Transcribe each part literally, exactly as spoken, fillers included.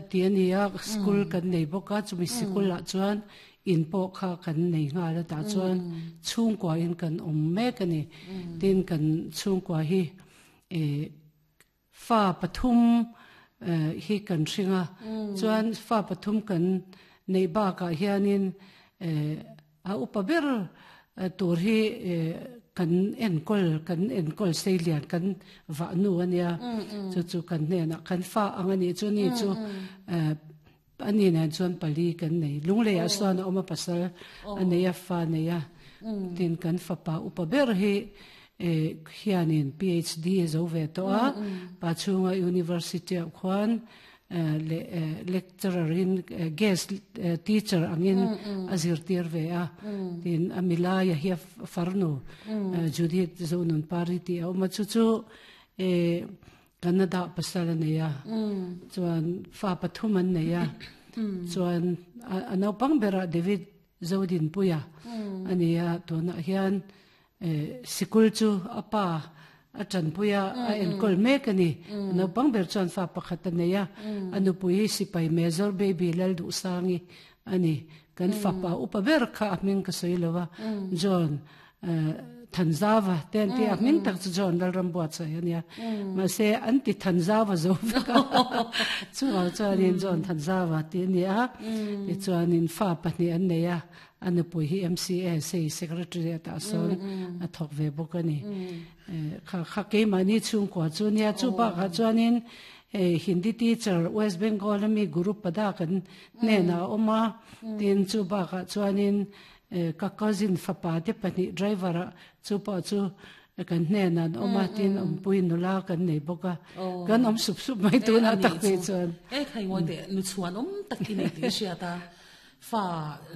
ti ania school kan nei bawk a chumi sikul ah chuan in pawh kha kan nei nghal a tah chuan chhungkua in kan awm mek ani tin kan chhungkua hi eh fa pathum hi kan hring a chuan fa pathum kan nei bakah hianin eh a upa ber tur hi eh kan enkawl kan enkawl sei lian kan vah nu ania chu chu kan hnenah kan fa ang ani chu ni chu eh ani nen chuan pali kan nei lunglei ah sawn a awm a pasal a nei a fa nei a tin kan fapa upa ber hi eh hianin P H D zo ve tawh a pa chhunga university ah khuan le lecturer in guest teacher angin a zirtir ve a tin a milai a hi farnu Judith Zonun Pari ti a awm a chu chu eh Canada pasal a nei a chuan fa pathum an nei a chuan a naupang berah David Zodin Puia ani a tunah hian eh sikul chu a pa a tanpuia a enkawl mek ani naupang ber chuan fa pakhat a nei a a nupui sipai Major Baby Lal duh sangi ani kan fapa upa ber kha a hming ka sawi lova John Thanzava ten ti a hming tak chu John Lalram buat sai ania mahse an ti Thanzava zo vek a chu chuanin John Thanzava ti ani a tichuanin fa pahnih an nei a a nupui hi M C A sei secretary atah sawn a thawk ve bawk ani kha kha keimahni chhungkua chu nia chu bakah chuanin Hindi teacher West Bengal ami Guru Pada kan hnenah a awm a tin chu bakah chuanin ka cousin fapa te pahnih driver ah chu pawh chu kan hnenah an awm a tin awmpui nula kan nei bawk a kan awm sup sup mai tunah tak phei chuan. E khai ngoi te nu chuan awm tak i nei tih hriat a fa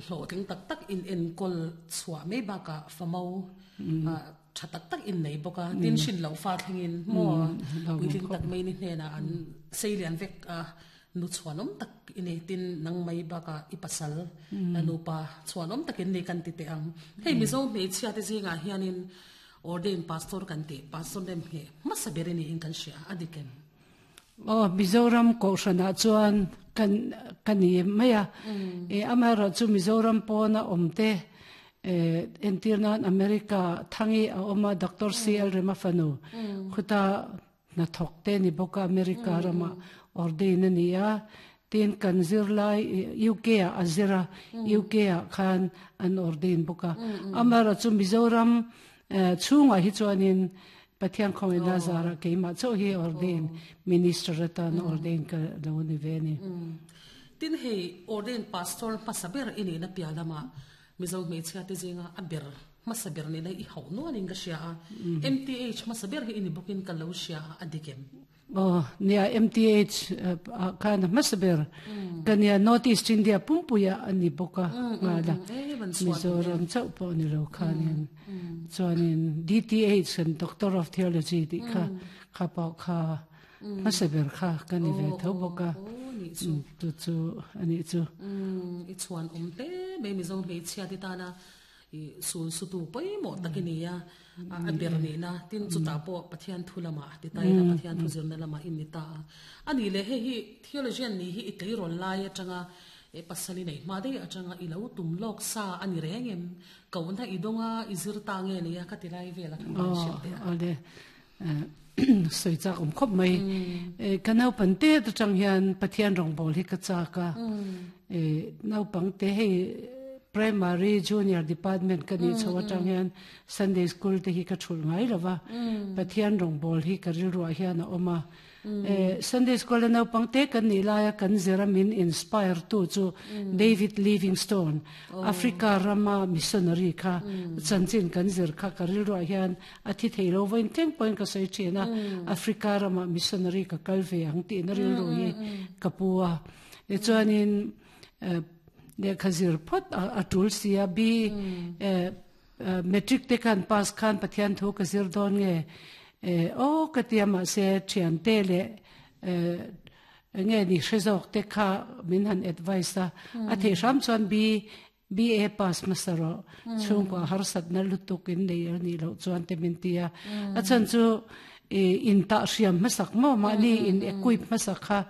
hlawhtling tak tak in enkawl chhuah mai bakah fa mo tha tak tak in nei bawk a tin hrin lo fa thlengin maw puitling tak mai ni hnenah an sei lian vek a nu chuan awm tak i nei tin nang mai bakah i pasal nupa chuan awm takin nei kan ti teh ang hei Mizo hmeichhia te zingah hianin ordain pastor kan ti pastor nem nge hmasa ber ani in kan hria a dik em? Oh, Mizoram kohhranah chuan kan kan ni mai a e amaherawh chu Mizoram pawna awm te eh entir nan America thangi a awm a Doctor C L Rema fanu khuta hnathawk te ni bawk a America rama ordain ani a tin kan zirlai U K ah a zira U K ah khan an ordain bawk a amaherawh chu Mizoram chhungah hi chuanin Pathian khawngin zara keimah chauh hi ordain minister atan ordain ka lo ni ve ni. Tin hei ordain pastor hmasa ber ini na pialama Mizo hmeichhia te zinga a ber hmasa ber ni na i hauh nuanin ka hria a M T H hmasa ber hi ini bawkin ka lo hria a a dik em? Oh, nia M T H khan hmasa ber kania North East India pumpuia ani bawk a ngala e ban chuan Mizoram chauh pawh ni lo khanin chuanin D T H kan Doctor of Theology ti kha kha pawh kha hmasa ber kha kan ni ve tho bawk a o ni chu chu chu ani chu. I chuan awm hle mai Mizo hmeichhia te tana i sul su tu pawimawh takini a a ber ni na tin chu ta pawh Pathian thu lama ti tai na Pathian thu zirna lama in ni ta a ani le he hi theologian ni hi i tleirawl lai atanga e pasali nei hma dei atanga i lo tum lawk sa ani reng em ko na i donga i zir ta nge ni a ka ti lai vela kan oh hriat te. Ale soi chak om khop mai e ka nau pan te ta chang hian Pathian rong bol hi ka cha ka e nau pang te hei primary junior department ka ni chawa tang hian Sunday school te hi ka thul ngai lova Pathian rong bol hi ka ril ruwa hian a oma e Sunday school nau pang te kan ni laia kan zera min inspire tu chu David Livingstone Africa rama missionary kha chanchin kan zir kha ka ril ruwa hian a thi theilo voin teng point ka sei thina Africa rama missionary ka kalve ang ti na ril ru hi kapua e chuanin le khazir phot a tul sia bi matric te kan pass khan Pathian thu ka zir don nge e o ka tia ma se thian te le nge ni hrezok te kha min han advice a a the ram chuan bi B A pass masaro chung ko har sat na lutuk in nei ani lo chuan te min tia a chan chu in ta hriam masak mo ma ni in equip masak kha.